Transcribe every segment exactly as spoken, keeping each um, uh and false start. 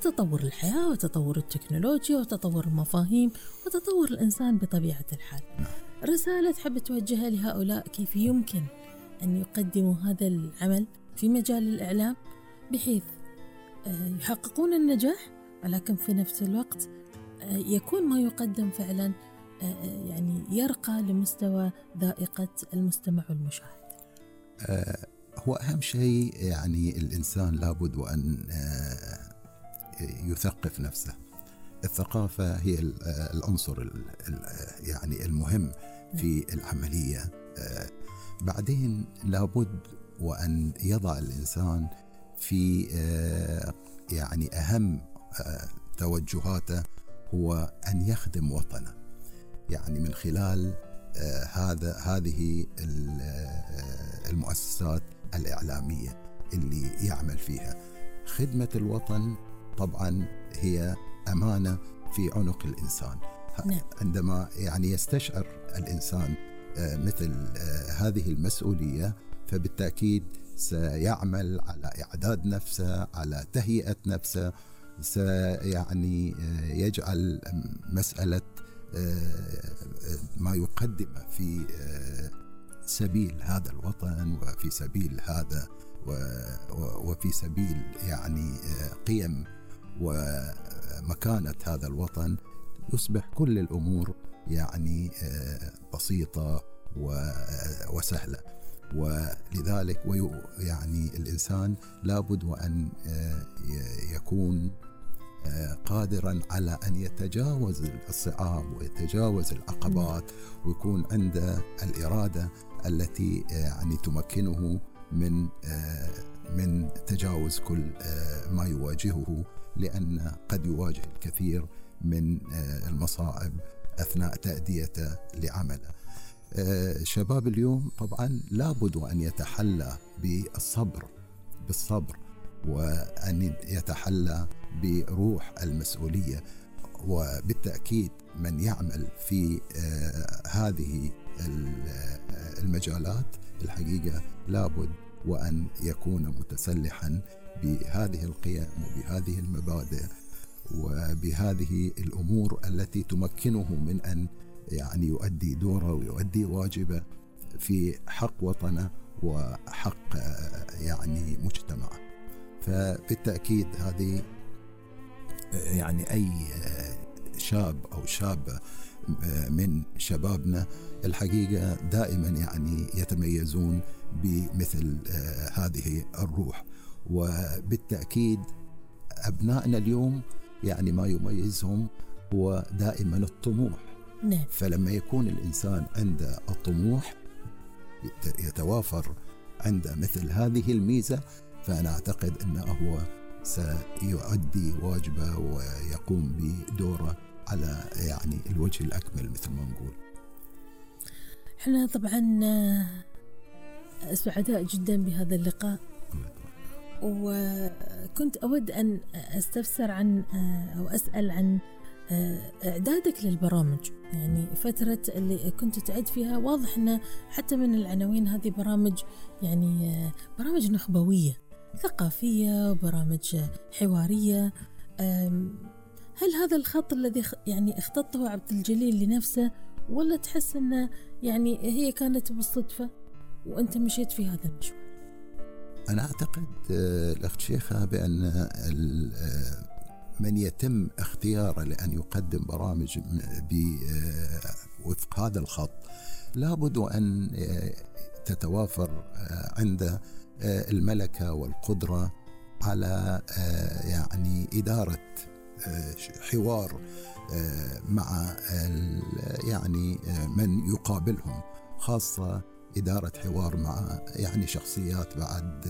تطور الحياة وتطور التكنولوجيا وتطور المفاهيم وتطور الإنسان بطبيعة الحال. رسالة تحب توجهها لهؤلاء كيف يمكن أن يقدموا هذا العمل في مجال الإعلام بحيث يحققون النجاح، ولكن في نفس الوقت يكون ما يقدم فعلا يعني يرقى لمستوى ذائقة المستمع والمشاهد. هو أهم شيء يعني الإنسان لابد وأن يثقف نفسه. الثقافة هي العنصر يعني المهم في العملية. بعدين لابد وأن يضع الإنسان في يعني أهم توجهاته هو أن يخدم وطنه، يعني من خلال هذا هذه المؤسسات الإعلامية اللي يعمل فيها. خدمة الوطن طبعا هي أمانة في عنق الإنسان. عندما يعني يستشعر الإنسان مثل هذه المسؤولية، فبالتأكيد سيعمل على إعداد نفسه، على تهيئة نفسه، سيعني يجعل مسألة ما يقدمه في سبيل هذا الوطن وفي سبيل هذا وفي سبيل يعني قيم ومكانة هذا الوطن، يصبح كل الأمور يعني بسيطة وسهلة. ولذلك يعني الإنسان لابد وأن يكون قادرا على أن يتجاوز الصعاب ويتجاوز العقبات، ويكون عنده الإرادة التي يعني تمكنه من من تجاوز كل ما يواجهه، لأن قد يواجه الكثير من المصاعب أثناء تأديته لعمله. شباب اليوم طبعا لابد أن يتحلى بالصبر بالصبر وأن يتحلى بروح المسؤولية. وبالتأكيد من يعمل في هذه المجالات الحقيقة لابد وأن يكون متسلحا بهذه القيم وبهذه المبادئ وبهذه الأمور التي تمكنه من أن يعني يؤدي دوره ويؤدي واجبه في حق وطنه وحق يعني مجتمعه. فبالتأكيد هذه يعني أي شاب أو شابة من شبابنا الحقيقة دائما يعني يتميزون بمثل هذه الروح. وبالتأكيد أبنائنا اليوم يعني ما يميزهم هو دائما الطموح. نعم. فلما يكون الإنسان عنده الطموح يتوافر عنده مثل هذه الميزة، فأنا أعتقد أنه هو سيؤدي واجبه ويقوم بدوره على يعني الوجه الأكمل مثل ما نقول. احنا طبعا سعداء جدا بهذا اللقاء، وكنت أود أن أستفسر عن أو أسأل عن إعدادك للبرامج. يعني فترة اللي كنت تعد فيها واضح أن حتى من العناوين هذه برامج يعني برامج نخبوية ثقافية وبرامج حوارية. هل هذا الخط الذي يعني اختطه عبد الجليل لنفسه، ولا تحس أنه يعني هي كانت بالصدفة وأنت مشيت في هذا المشوار؟ أنا أعتقد الأخت شيخة بأن من يتم اختياره لأن يقدم برامج وفق هذا الخط لابد أن تتوافر عنده الملكة والقدرة على يعني إدارة حوار مع يعني من يقابلهم، خاصة إدارة حوار مع يعني شخصيات بعد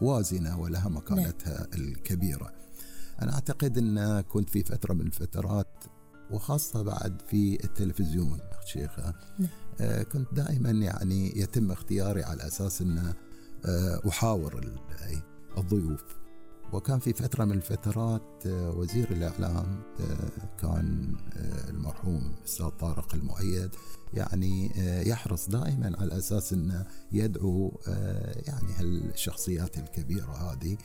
وازنة ولها مكانتها الكبيرة. أنا أعتقد أن كنت في فترة من الفترات وخاصة بعد في التلفزيون شيخة كنت دائما يعني يتم اختياري على أساس أن أحاور الضيوف. وكان في فترة من الفترات وزير الإعلام كان المرحوم الأستاذ طارق المؤيد يعني يحرص دائما على أساس أنه يدعو يعني هالشخصيات الكبيرة هذه